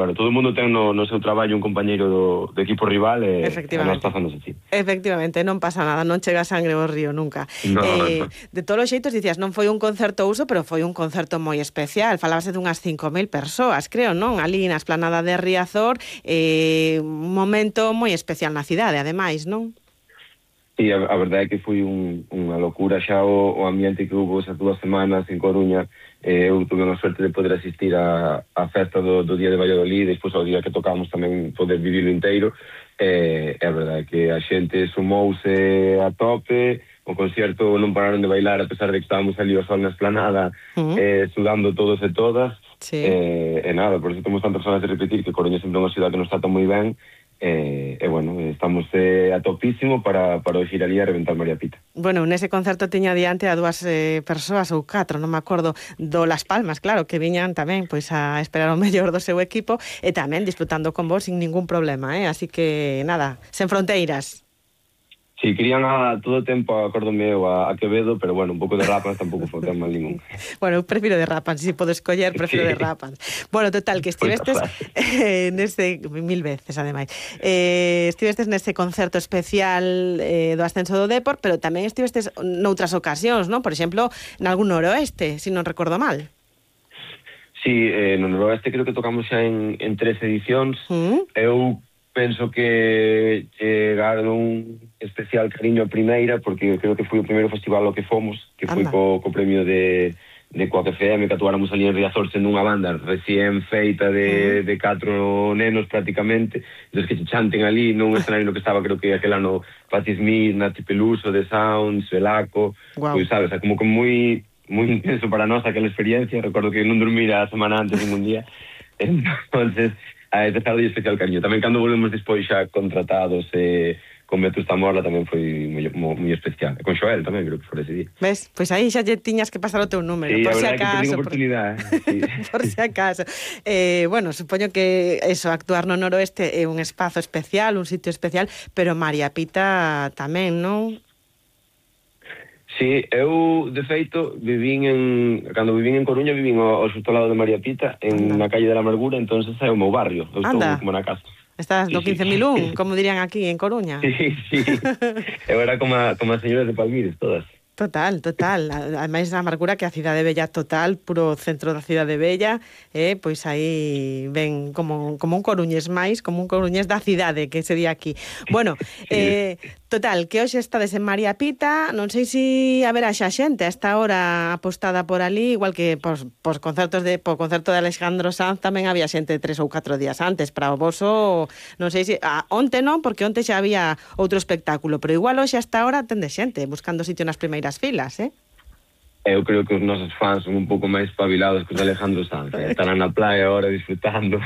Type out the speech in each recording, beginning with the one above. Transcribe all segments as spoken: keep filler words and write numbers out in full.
Bueno, todo o mundo ten no, no seu traballo un compañeiro do, do equipo rival e, e nós pasamos así. Efectivamente, non pasa nada, non chega sangre ao río nunca. No, eh, no. De todos os xeitos, dicías, non foi un concerto uso, pero foi un concerto moi especial. Falábase dunhas cinco mil persoas, creo, non? Ali na esplanada de Riazor, eh, un momento moi especial na cidade, ademais, non? Sí, a, a verdade é que foi un, unha locura xa o, o ambiente que hubo esas dúas semanas en Coruña. Eh, eu tuve a suerte de poder asistir a, a festa do, do Día de Valladolid, e despois ao día que tocamos tamén poder vivilo inteiro. Eh, é a verdade que a xente sumouse a tope, o concerto non pararon de bailar a pesar de que estábamos ali ao sol na esplanada, uh -huh. eh, sudando todos e todas. Sí. Eh, e nada, por eso temos tantas ganas de repetir que Coruña sempre é unha cidade que nos trata moi ben. E, eh, eh, bueno, estamos eh, a topísimo para, para ir ali a reventar María Pita. Bueno, nese concerto tiña diante a dúas eh, persoas ou catro, non me acordo, do Las Palmas, claro, que viñan tamén pois a esperar o mellor do seu equipo e tamén disfrutando con vos sin ningún problema, eh? Así que, nada, sen fronteiras. Sí, querían a todo o tempo, acórdome eu, a, a Quevedo, pero bueno, un pouco de Rapans tampouco foi tan mal ningún. Bueno, eu prefiro de Rapans, se si podo escoller, prefiro sí. de Rapans. Bueno, total, que estivestes eh, neste, mil veces, ademais, eh, estivestes neste concerto especial eh, do ascenso do Depor, pero tamén estivestes noutras ocasións, non? Por exemplo, nalgún noroeste, se si non recordo mal. Sí, eh, no noroeste creo que tocamos xa en, en tres edicións. ¿Mm? Eu penso que chegaron un especial cariño a primeira, porque creo que foi o primeiro festival ao que fomos, que foi co, co premio de, de Coac F M, que atuáramos ali en Riazor sendo unha banda recién feita de, de catro nenos prácticamente, entonces que se chanten ali nun escenario no que estaba, creo que aquel ano Patti Smith, Nati Peluso, The Sounds, Velaco, wow. Pois sabes, como que moi moi intenso para nós aquela experiencia. Recordo que non dormira a semana antes ningún día, entonces a ese estado de especial cariño. Tamén cando volvemos despois xa contratados eh, con Vetusta Morla tamén foi moi, moi especial. E con Xoel tamén, creo que foi ese día. Ves? Pois aí xa lle tiñas que pasar o teu número, sí, por si acaso. Por... Sí. por si acaso. Eh, bueno, supoño que eso, actuar no noroeste é un espazo especial, un sitio especial, pero María Pita tamén, non? Sí, eu, de feito, vivín en... Cando vivín en Coruña, vivín ao, ao xusto lado de María Pita, en Anda. Na calle de la Amargura, entonces é o meu barrio. Eu estou como na casa. Estás do quince mil un, como dirían aquí en Coruña. Sí, sí. Eu era como a, como as señoras de Palmires, todas. Total, total. Ademais, a Amargura, que a cidade bella total, puro centro da cidade bella, eh, pois aí ven como, como un coruñés máis, como un coruñés da cidade, que sería aquí. Bueno, eh, total, que hoxe estades en María Pita, non sei se haberá xa xente a esta hora apostada por ali, igual que pos, pos concertos de, po concerto de Alejandro Sanz tamén había xente tres ou catro días antes, para o voso, non sei se, ah, onte non, porque onte xa había outro espectáculo, pero igual hoxe a esta hora tende xente, buscando sitio nas primeiras filas, eh? Eu creo que os nosos fans son un pouco máis espabilados que os Alejandro Sanz, eh? Estarán na playa agora disfrutando,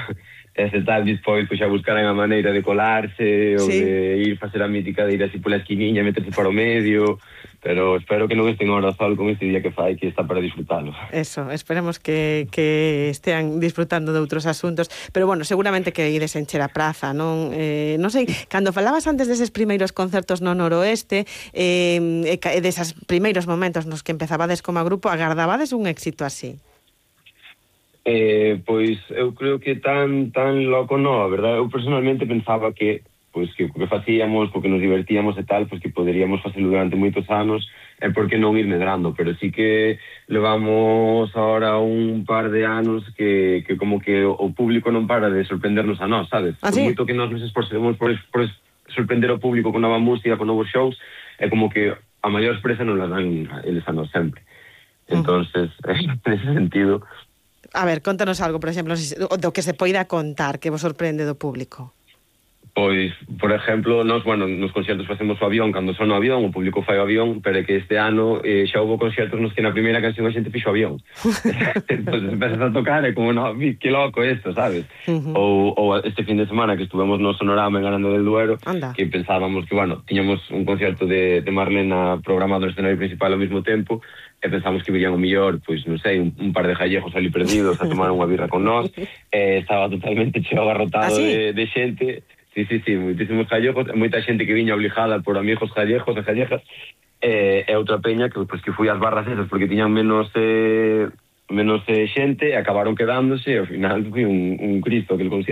ese tal despois pois xa buscarán a maneira de colarse, ou sí. de ir facer a mítica de ir así pola esquiniña, meterse para o medio, pero espero que non estén ahora sol con este día que fai, que está para disfrutalo. Eso, esperemos que, que estean disfrutando de outros asuntos, pero bueno, seguramente que ides encher a praza, non? Eh, non sei, cando falabas antes deses primeiros concertos no noroeste, eh, e deses primeiros momentos nos que empezabades como grupo, agardabades un éxito así? Eh, pois eu creo que tan tan loco non, a verdade, eu personalmente pensaba que pois que o que facíamos, porque nos divertíamos e tal, pois que poderíamos facelo durante moitos anos, e por que non ir medrando, pero sí que levamos ahora un par de anos que, que como que o público non para de sorprendernos a nós, sabes? ¿Ah, sí? Por moito que nós nos esforcemos por, por sorprender o público con nova música, con novos shows, é como que a maior expresa non la dan eles a nós sempre. Entonces, uh-huh. en ese sentido... A ver, contanos algo, por exemplo, do que se poida contar, que vos sorprende do público. Pois, por exemplo, nos, bueno, nos concertos facemos o avión, cando son o avión, o público fai o avión, pero é que este ano eh, xa houve concertos nos que na primeira canción a xente fixo o avión. Entón, empezas a tocar e como, no, que loco isto, sabes? Uh-huh. ou, ou este fin de semana que estuvemos no Sonorama en Aranda del Duero, Anda. Que pensábamos que, bueno, tiñamos un concerto de, de Marlena programado no escenario principal ao mesmo tempo, e pensamos que virían o millor, pois, non sei, un, un par de gallejos ali perdidos a tomar unha birra con nós, e estaba totalmente cheo agarrotado ¿Ah, sí? de, de xente. Sí, sí, sí, moitísimos gallegos, moita xente que viña obligada por amigos gallejos e gallegas, e, e outra peña que, pues, que foi ás barras esas, porque tiñan menos eh, menos eh, xente, e acabaron quedándose, e ao final foi un, un Cristo aquel concierto.